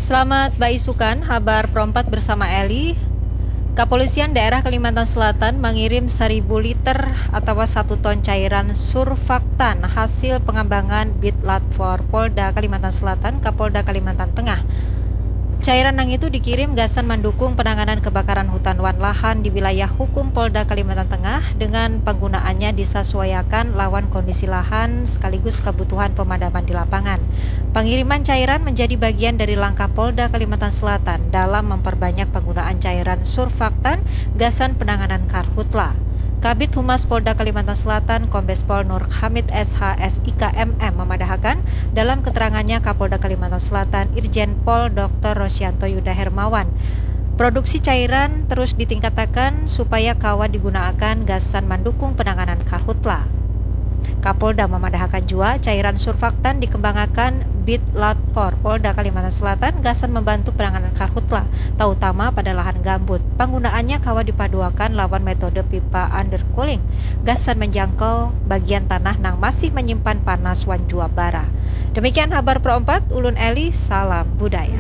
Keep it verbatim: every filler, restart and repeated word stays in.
Selamat baisukan, habar perompat bersama Eli. Kapolisian Daerah Kalimantan Selatan mangirim seribu liter atawa satu ton cairan surfaktan hasil pengembangan Bit Latfor Polda Kalimantan Selatan ka Polda Kalimantan Tengah. Cairan nang itu dikirim gasan mandukung penanganan kebakaran hutan wan lahan di wilayah hukum Polda Kalimantan Tengah dengan penggunaannya disasuaiakan lawan kondisi lahan sekaligus kebutuhan pemadaman di lapangan. Pengiriman cairan menjadi bagian dari langkah Polda Kalimantan Selatan dalam memperbanyak penggunaan cairan surfaktan gasan penanganan karhutla. Kabid Humas Polda Kalimantan Selatan, Kombes Pol Nur Hamid S H, S I K M M, memadahakan dalam keterangannya Kapolda Kalimantan Selatan, Irjen Pol Doktor Rosyanto Yuda Hermawan, produksi cairan terus ditingkatakan supaya kawa digunaakan gasan mandukung penanganan karhutla. Kapolda mamadahakan jua, cairan surfaktan dikembangakan Bit Latfor Polda Kalimantan Selatan gasan membantu penanganan karhutla, tautama pada lahan gambut. Panggunaannya kawa dipaduakan lawan metode pipa undercooling gasan menjangkau bagian tanah nang masih menyimpan panas wan jua bara. Demikian habar perompat, ulun Eli, salam budaya.